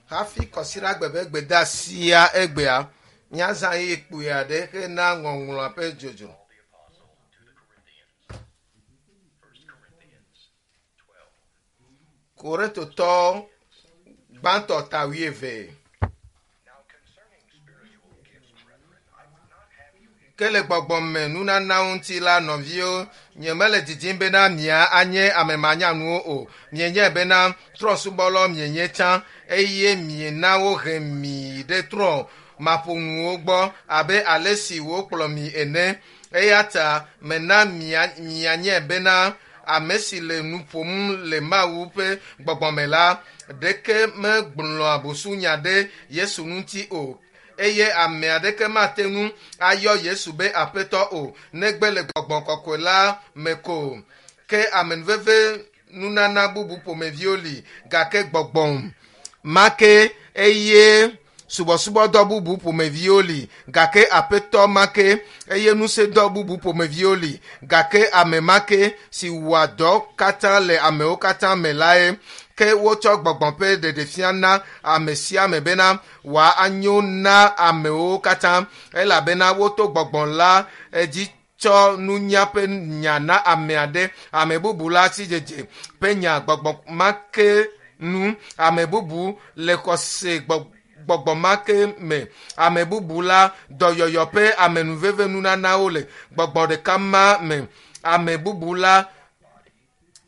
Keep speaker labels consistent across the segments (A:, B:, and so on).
A: Hafi kɔsiɖagbe ƒe gbedeasia egbea, míazã ɣeyiɣi kpui aɖe hena ŋɔŋlɔa ƒe dzodzro.
B: Paul the Apostle to the Corinthians. 1 Corinthians 12.
A: Korintotɔ gbãtɔ ta wuieve.
B: Now concerning spiritual gifts, brethren, I would not have you ignorant.
A: Ke le gbɔgbɔme nunanawo ŋuti la, nɔviwo, nyemele didim bena mia anye ame manyanuwo o. Mienyae bena trɔ̃subɔlawo mienye tsã eye miena wohe mi ɖe trɔ̃ maƒonuwo gbɔ abe ale si wokplɔ mi ene. Eya ta mena mia mianyae bena ame si le nu ƒom le Mawu ƒe gbɔgbɔme la, ɖeke megblɔa busunya ɖe Yesu ŋuti o eye ame aɖeke mate ŋu ayɔ Yesu be Aƒetɔ o, negbe le gbɔgbɔ kɔkɔe la me ko. Ke amenuveve nunana bubu ƒomeviwo li gake gbɔgbɔ ma ke eye subɔsubɔdɔ bubu ƒomeviwo li gake aƒetɔ ma ke eye ŋusẽdɔ bubu ƒomeviwo li gake ame ma ke si wɔa dɔ katã le amewo katã me lae. Ke wotsɔ gbɔgbɔ ƒe ɖeɖefia na ame sia ame bena wòanyo na amewo katã elabena woto gbɔgbɔ la dzi tsɔ nunya ƒe nya na ame aɖe ame bubu la sidzedze ƒe nya gbɔgbɔ ma ke nu ame bubu le xɔse gbɔgbɔ ma ke me ame bubu la dɔyɔyɔ ƒe amenuveve nunanawo le gbɔgbɔ ɖeka ma me ame bubu la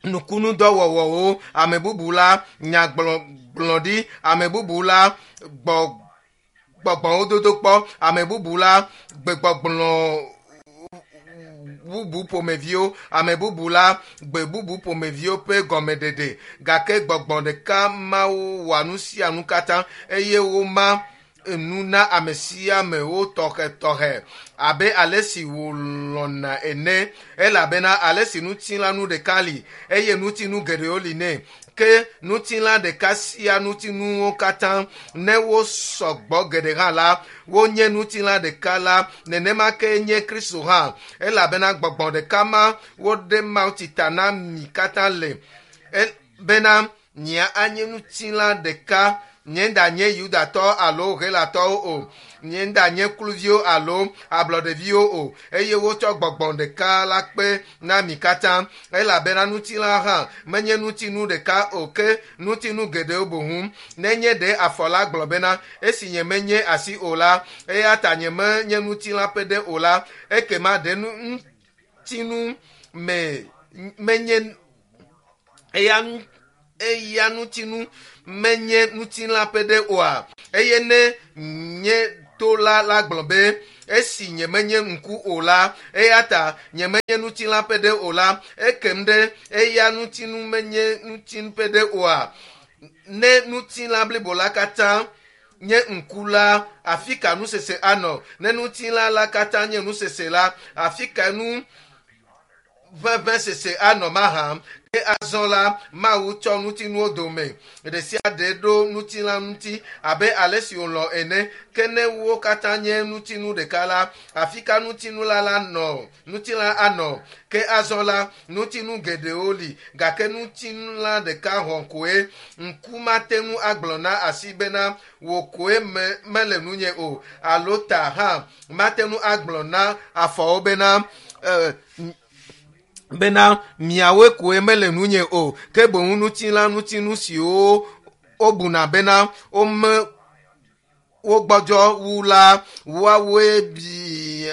A: nukunudɔwɔwɔwo ame bubu la nyagblɔɖi ame bubu la gbɔ gbɔgbɔwo dodokpɔ ame bubu la gbegbɔgblɔ bubu ƒomeviwo ame bubu la gbe bubu ƒomeviwo ƒe gɔmeɖeɖe gake gbɔgbɔ ɖeka mawo wɔa nu sia nu katã eye woma nu na ame sia ame wo tɔxɛtɔxɛ abe ale si wòlɔ̃na ene elabena ale si ŋutilãnu ɖeka li eye ŋutinu geɖewo li nɛ ke ŋutilã ɖeka sia ŋutinuwo katã ne wosɔ gbɔ geɖe hã la wonye ŋutilã ɖeka la nenema ke nye Kristo hã elabena gbɔgbɔ ɖeka ma woɖe mawutsi ta na mi katã le bena mia anye ŋutilã ɖeka nye ŋda nye yudatɔ alo helatɔwo o nye ŋda nye kluviwo alo ablɔɖeviwo o eye wotsɔ gbɔgbɔ ɖeka la kpe na mi katã elabena ŋutilã hã menye ŋutinu ɖeka o ke ŋutinu geɖewo boŋ nenye ɖe afɔ la gblɔ bena esi nye menye asi o la eya ta nye menye ŋutilã ƒe ɖe o la ekema ɖe ŋutinu me menye eya eya ŋutinu menye ŋutilã ƒe ɖe oa eye ne nye to la la gblɔ be esi nye menye ŋku o la eya ta nye menye ŋutilã ƒe ɖe o la ekem ɖe eya ŋutinu menye ŋutinu ƒe ɖe oa ne ŋutilã blibo la katã nye ŋku la afi ka nusese anɔ ne ŋutilã la katã nye nusese la afi ka nu ʋeʋẽsese anɔ mahã ke azɔ la mawu tsɔ ŋutinuwo dome ɖe sia ɖe ɖo ŋutilã ŋuti abe ale si wòlɔ̃ ene ke ne wo katã nye ŋutinu ɖeka la afi ka ŋutinu la la nɔ ŋutilã anɔ ke azɔ la ŋutinu geɖewo li gake ŋutilã ɖeka hɔ̃ koe ŋku mate ŋu agblɔ na asi bena wò koe me mele nunye o alo ta hã mate ŋu agblɔ na afɔwo bena bena miawoe koe mele nunye o ke boŋ ŋutilã ŋutinu siwo wobuna bena wome wogbɔdzɔ wu la woawoe bi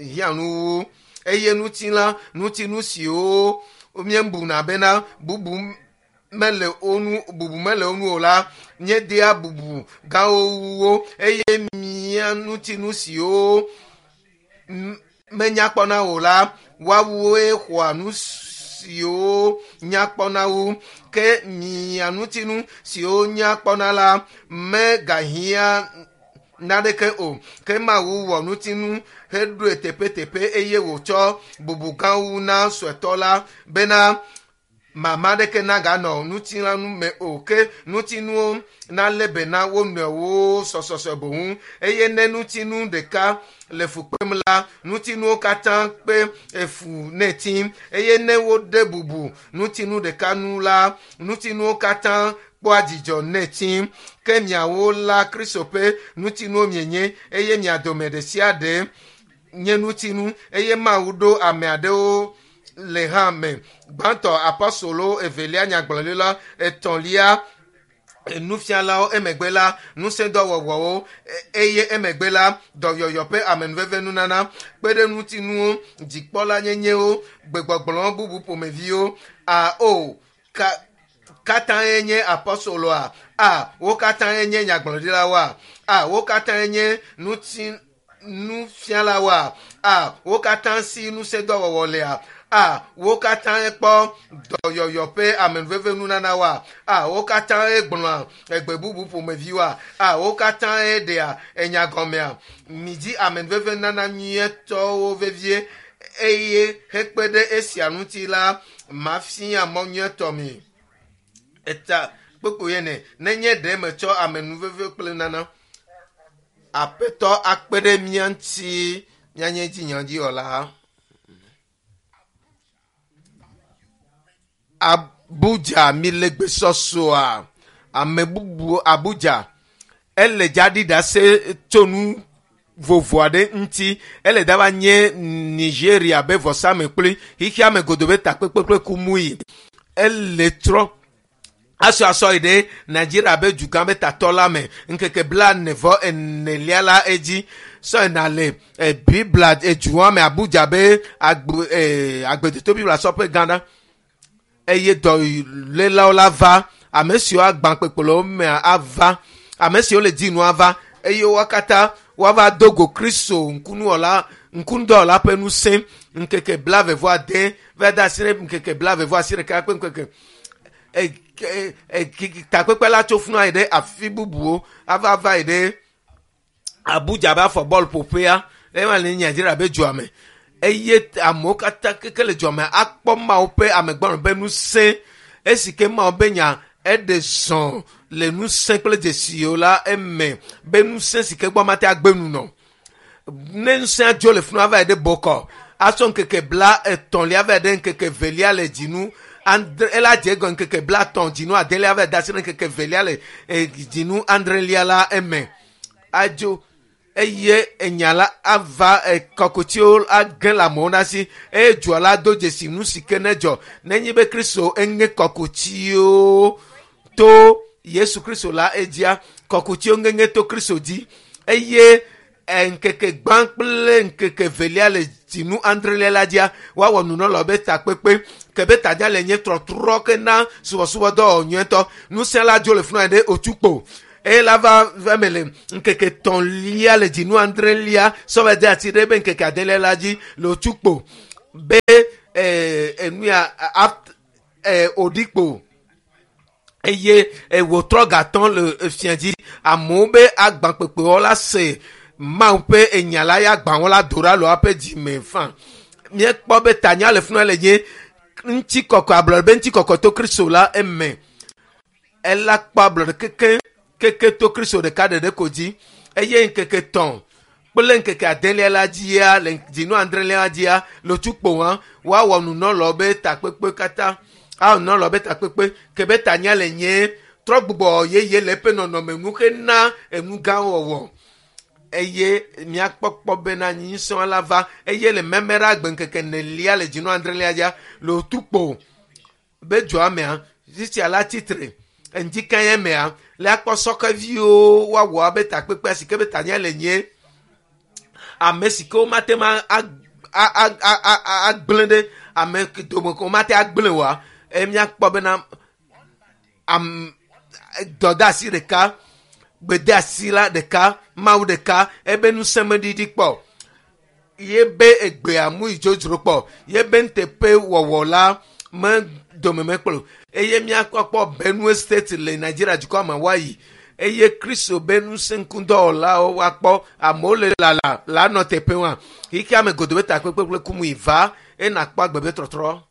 A: hiã nu wu eye ŋutilã ŋutinu siwo míebuna bena bubu mele wo ŋu bubu mele wo ŋu o la míedea bubu gãwo wu wo eye mía ŋutinu siwo menya kpɔna o la woawoe xɔa nu siwo nya kpɔna wu ke mia ŋutinu siwo nya kpɔna la megahiã naneke o ke mawu wɔ ŋutinu heɖoe teƒeteƒe eye wòtsɔ bubu gãwo na suetɔ la bena mama ɖeke naganɔ ŋutilãnu me o ke ŋutinuwo nalé be na wo nɔewo sɔsɔsɔ boŋ eye ne ŋutinu ɖeka le fu kpem la ŋutinuwo katã kpe efu nɛ tim eye ne wode bubu ŋutinu ɖeka nu la ŋutinuwo katã kpɔa dzidzɔ nɛ tsi. Ke miawo la Kristo ƒe ŋutinuwo mienye eye mia dome ɖe sia ɖe nye ŋutinu eye Mawu ɖo ame aɖewo le hã me. Gbãtɔ apɔstolo, evelia nyagblɔɖila, etɔ̃lia nufialawo, emegbe la ŋusẽdɔwɔwɔwo, eye emegbe la dɔyɔyɔ ƒe amenuveve nunana, kpe ɖe ŋutinuwo, dzikpɔla nyenyewo, gbegbɔgblɔ bubu ƒomeviwo. A o ka katãe nye apɔstoloa? A wo katãe nye nyagblɔɖilawoa? A wo katãe nye ŋuti nufialawoa? A wo katã si ŋusẽdɔwɔwɔ lea? A wo katãe kpɔ dɔyɔyɔ ƒe amenuveve nunanawoa? A wo katãe gblɔa egbe bubu ƒomeviwoa? A wo katãe ɖea enya gɔmea? Midzi amenuveve nana nyuietɔwo vevie eye hekpe ɖe esia ŋuti la mafia mɔ nyuietɔ mi. Eta kpokpo yene nenye ɖe metsɔ amenuveve kple nana. Aƒetɔ akpe ɖe mía ŋuti míanye dzinyɔdziwɔla. Abuja mi le gbesɔsɔa ame bubu Abuja ele dzaɖi ɖase tso nu vovo aɖe ŋuti ele dava nye Nigeria be vɔsamekpli xixia me godo be takpekpe kple kumui ele trɔ asɔ asɔ yi ɖe Nigeria be dugã be tatɔ la me ŋkeke 48lia la edzi sɔ yina le Biblia edua me Abuja be agbe agbedoto Biblia sɔƒe gã ɖa eye dɔlélawo la va ame siwo agbã kpekpeɖewo mea ava ame siwo le dzinu ava eye wo katã woava do go Kristo ŋkunuwɔla ŋkunudɔwɔla ƒe ŋusẽ ŋkeke 28 va de asi ɖe ŋkeke 28 kple ŋkeke takpekpe la tso funu ayi ɖe afi bubuwo ava va yi ɖe Abuja be afɔ bɔl ƒoƒea ema le Nigeria be dua me eye amewo katã keke le dua me akpɔ Mawu ƒe amegbɔnɔ ƒe ŋusẽ esi ke Mawu be nya eɖe zɔ le ŋusẽ kple dzesiwo la eme be ŋusẽ si ke gbɔ mate agbe nu nɔ ne ŋusẽ dzo le funu ava yi ɖe bɔkɔ asɔ ŋkeke 33lia va yi ɖe ŋkeke 2lia le dzinu andre ela dze egɔ ŋkeke 30 dzinu adelia va yi de asi ɖe ŋkeke 2lia le dzinu adrelia la eme adzo eye enya la ava kɔkutiwo age le amewo na si eye dua la do dzesi nu si ke ne dzɔ nenye be Kristo eŋe kɔkutiwo to Yesu Kristo la edzia kɔkutiwo ŋeŋe to Kristo dzi eye ŋkeke gbã kple ŋkeke velia le dzinu adrelia la dzia woawɔ nunɔlawo be takpekpe ke be tadza le nye trɔtrɔ ke na subɔsubɔdɔwɔwɔ nyuietɔ ŋusẽ la dzo le funu ɖe otukpo eye la va eme le ŋkeke 3lia le dzinu adrelia sɔvɛ de asi ɖe be ŋkeke adelia la dzi le otukpo be enuya oɖikpo eye wòtrɔ gatɔ le fia dzi amewo be agbãkpekpewɔ la se Mawu ƒe enya la ya agbawo la do ɖa le woaƒe dzime fa. Míekpɔ be tanya le funu le nye ŋutikɔkɔ ablɔɖe be ŋutikɔkɔ to Kristo la eme. Ela kpɔ ablɔɖe keke keke to Kristo ɖeka ɖeɖe ko dzi eye ŋkeke 3 kple ŋkeke adelia la dzia le dzinu adrelia la dzia le otukpo hã woawɔ nunɔlawo be takpekpe katã awɔ nunɔlawo be takpekpe ke be tanya le nye trɔ gbugbɔ yeye le eƒe nɔnɔme nu hena enu gã wɔwɔ eye miakpɔkpɔ bena nyisɔa la va eye le meme ɖe agbe ŋkeke 4lia le dzinu adrelia dzia le otukpo be dua mea fifia la tsitre ŋdikanye mea le akpɔ sɔkeviwo woawɔ abe takpekpea si ke be tanya le nye ame si ke womate ma agblẽ ɖe ame dome ko womate agblẽ oa eye miakpɔ bena am dɔdeasi ɖeka gbedeasi la ɖeka Mawu ɖeka ebe ŋusẽ meɖiɖi kpɔ ye be egbea mu yi dzodzro kpɔ ye be nuteƒe wɔwɔ la me dome mekplɔ eye miakpɔkpɔ Benue State le Nigeria dukɔ me woayi eye Kristo be ŋusẽ ŋkudɔwɔlawo woakpɔ amewo le lala la nɔ teƒe wa xixia me godo be takpekpe kple kumu yi va eye nakpɔ agbe be trɔtrɔ.